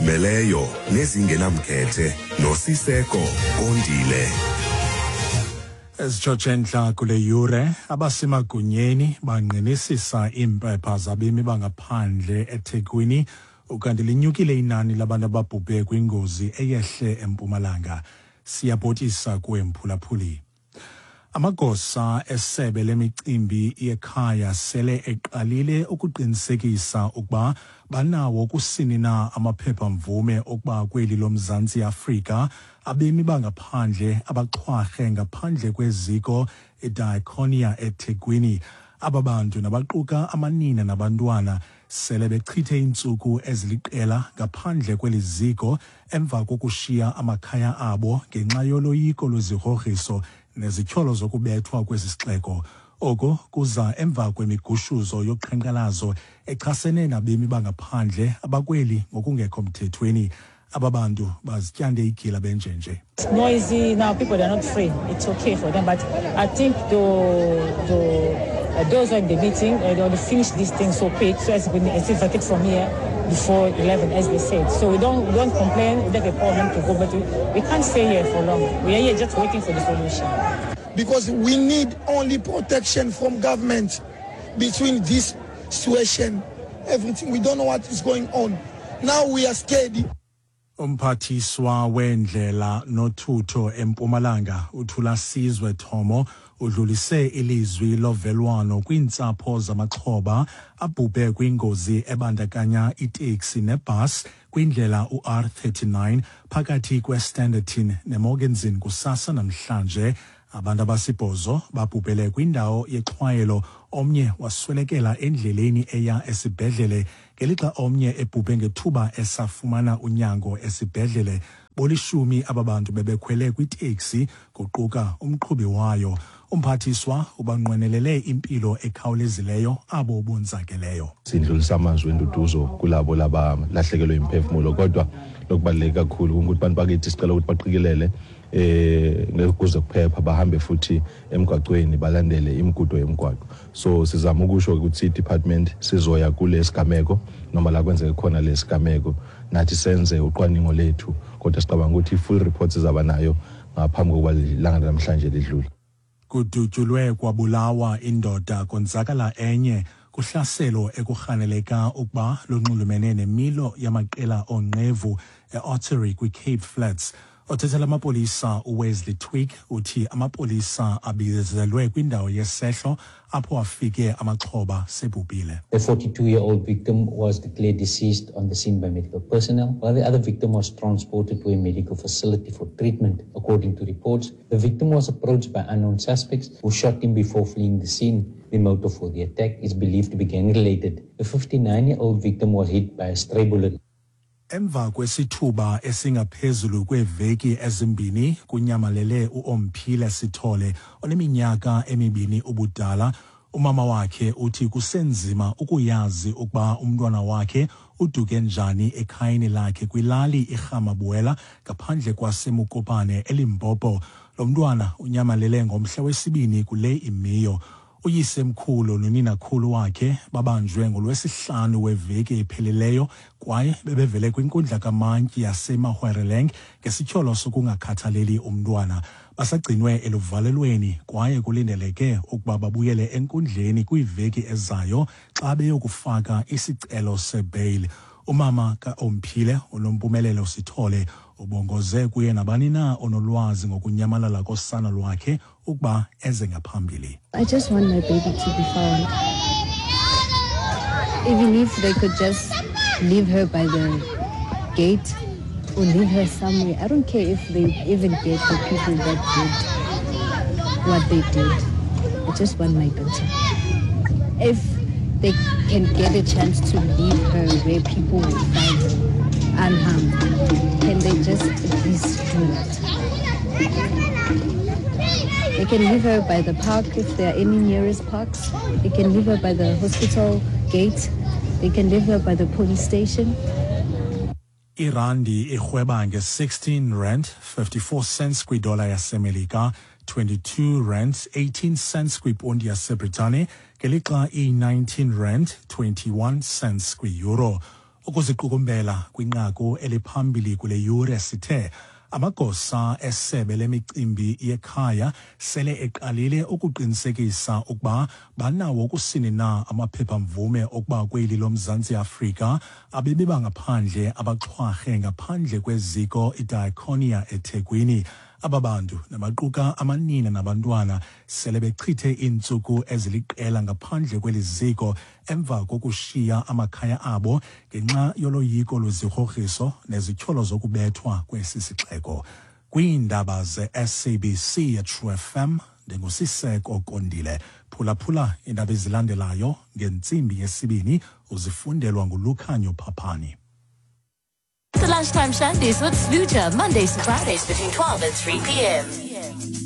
Ezizimeleyo nezingenamkhethe noSiseko Kondile. Ezitshotshe entla kule yure, abasemagunyeni bangqinisisa iimpepha zabemi bangaphandle eThekwini, ukanti linyukile inani labantu ababhubhe kwingozi eyehle eMpumalanga. Siyabhotisa kuwe mphulaphuli. Amagosa esebe lemicimbi yekhaya sele eqalile ukuqinisekisa ukuba banawo kusini na amaphepha-mvume okuba kweli loMzantsi Afrika abemi bangaphandle abaxhwarhe ngaphandle kweziko iDiakonia eThekwini. Aba bantu nabaquka amanina nabantwana sele bechithe iintsuku eziliqela ngaphandle kweli ziko emva kokushiya amakhaya abo ngenxa yoloyiko lwezigrogriso nezityholo zokubethwa kwesi sixeko. Oko kuza emva kwemigushuzo yoqhankqalazo echasene nabemi bangaphandle abakweli ngokungekho mthethweni. Aba bantu bazityande igila benjenje. It's noisy now, people are not free. It's okay for them, but I think those who are in the meeting, they want to finish this thing so quick, so as we can from here before 11, as they said. So we don't complain, we don't have a problem to go, but we can't stay here for long. We are here just waiting for the solution. Because we need only protection from government between this situation, everything. We don't know what is going on. Now we are scared. Umphathiswa wendlela nothutho eMpumalanga uThulasizwe Thomo udlulise ilizwi lovelwano kwiintsapho zamaxhoba abhubhe kwingozi ebandakanya iteksi nebhasi kwindlela uR39 phakathi kweStanderton neMorgenzon kusasa namhlanje. Abantu abasibhozo babhubhele kwindawo yexhwayelo, omnye waswelekela endleleni eya esibhedlele ngelixa omnye ebhubhe ngethuba esafumana unyango esibhedlele. Bolishumi aba bantu bebekhwele kwiteksi kuquka umqhubi wayo. Umphathiswa ubanqwenelele impilo ekhawulezileyo abo bonzakeleyo. Sidlulisa amazwi enduduzo kulabo labalahlekelwe imphefumulo, kodwa lokubaluleke kakhulu ukuthi bantu bakithi sicela ukuthi baqikelele ngekuze kuphepha, bahambe futhi emgwaqweni, balandele imigudu yemigwaqo. So sizama ukusho ukuthi i-department sizoya kule sigameko noma la kwenzeke khona lesigameko, nathi senze ucwaningo lethu, kodwa sicabanga ukuthi i-full report sizaba nayo ngaphambi kokuba ilanga namhlanje lidlule. Kudutyulwe kwabulawa indoda konzakala enye kuhlaselo ekurhaneleka ukuba lunxulumene nemilo yamaqela oonqevu e-Ottery kwi-Cape Flats. Othethela amapolisa uWesley Twigg uthi amapolisa abizelwe kwindawo yesehlo apho afike amaxhoba sebhubhile. The 42-year-old victim was declared deceased on the scene by medical personnel, while the other victim was transported to a medical facility for treatment. According to reports, the victim was approached by unknown suspects who shot him before fleeing the scene. The motive for the attack is believed to be gang-related. The 59-year-old victim was hit by a stray bullet. Emva kwesithuba esingaphezulu kweeveki ezimbini kunyamalele uOmphile Sithole oneminyaka 2 ubudala, umama wakhe uthi kusenzima ukuyazi ukuba umntwana wakhe uduke njani ekhayeni lakhe kwilali iRhamabuela ngaphandle kwaseMokopane eLimpopo. Lo mntwana unyamalele ngomhla wesibini kule imiyo. Uyisemkhulu noninakhulu wakhe babanjwe ngolwesihlanu weveki ephelileyo kwaye bebevele kwinkundla kamantyi yaseMahwereleng ngesityholo sokungakhathaleli umntwana. Basagcinwe eluvalelweni kwaye kulindeleke ukuba babuyele enkundleni kwiiveki ezayo xa beyokufaka isicelo sebheyile. Umama kaOmphile uNompumelelo Sithole ubongoze kuye nabani na onolwazi ngokunyamalala kosana lwakhe ukuba eze ngaphambili. I just want my baby to be found. Even if they could just leave her by the gate or leave her somewhere. I don't care if they even get the people that did what they did. I just want my daughter. If they can get a chance to leave her where people will find her unharmed, can they just at least do that? They can leave her by the park if there are any nearest parks. They can leave her by the hospital gate. They can leave her by the police station. Irandi irhweba nge-16 rand 54 cents kwidola yaseMelika, 22 rand 18 cents kwiponti yaseBritane, ngelixa i-19 rand 21 cents kwi-euro. Ukuziqukumbela kwinqaku eliphambili kule yure sithe amagosa esebe lemicimbi yekhaya sele eqalile ukuqinisekisa ukuba banawo kusini na amaphepha-mvume okuba kweli loMzantsi Afrika abebeba ngaphandle abaxhwarhe ngaphandle kweziko iDiakonia eThekwini. Aba bantu nabaquka amanina nabantwana sele bechithe iintsuku eziliqela ngaphandle kweli ziko emva kokushiya amakhaya abo ngenxa yoloyiko lwezigrogriso nezityholo zokubethwa kwesi sixeko. Kwiindaba ze-SABC yeTrue FM, ndinguSiseko Kondile. Phulaphula iindaba ezilandelayo ngentsimbi yesibini uzifundelwa nguLukhanyo Phaphani. The Lunchtime Shandies with Sluja, Mondays to Fridays between 12 and 3 p.m.